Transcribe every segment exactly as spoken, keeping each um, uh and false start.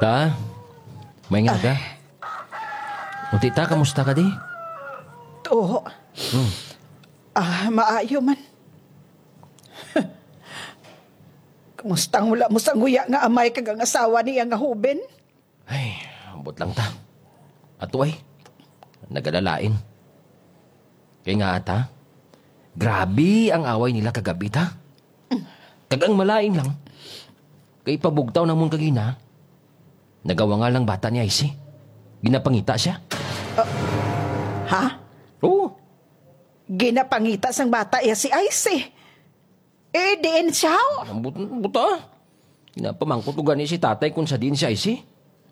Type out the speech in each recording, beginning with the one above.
Ta, may nga ka? Unti ta, kamusta ka di? Oo. Hmm. Ah, maayo man. Kumusta ang wala mo sanguya nga amay kag ang asawa niya nga huben? Ay, ambot lang ta. Ato ay, nagalalain. Kay nga ata, grabe ang away nila kagabi ta. Kag ang malain lang, kay pabugtaw namon kagina, nagawangal lang bata ni Icy. Ginapangita siya. Ha? Oo. Ginapangita sang bata iya si Icy? Eh, diin siya? Ang but-, buta. Ginapamangkot ko gani si tatay kung sa diin si Icy.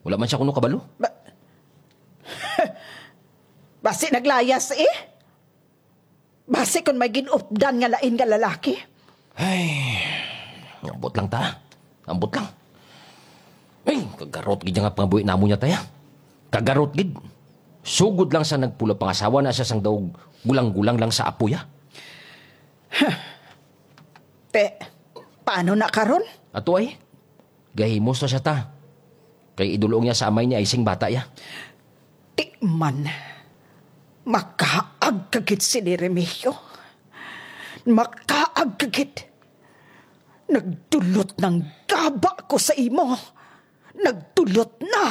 Wala man siya kuno kabalo. Ba- Basi naglayas eh. Basi kung may ginupdan nga lain nga lalaki. Ay, ambot lang ta. Ambot lang. Ay, kagarot gid nga pangabuhi namo niya, taya. Kagarot gid. Sugod lang sa nagpula pangasawa na siya sang daog gulang-gulang lang sa apo ya. Te, paano na karon? Ato ay, gahimos na siya ta. Kay idulong niya sa amay ni Icy ang bata ya. Ti man, makaag ka gid sini, Remigio. Makaag ka gid. Nagdulot nang gaba ko sa imo. Nagdulot na.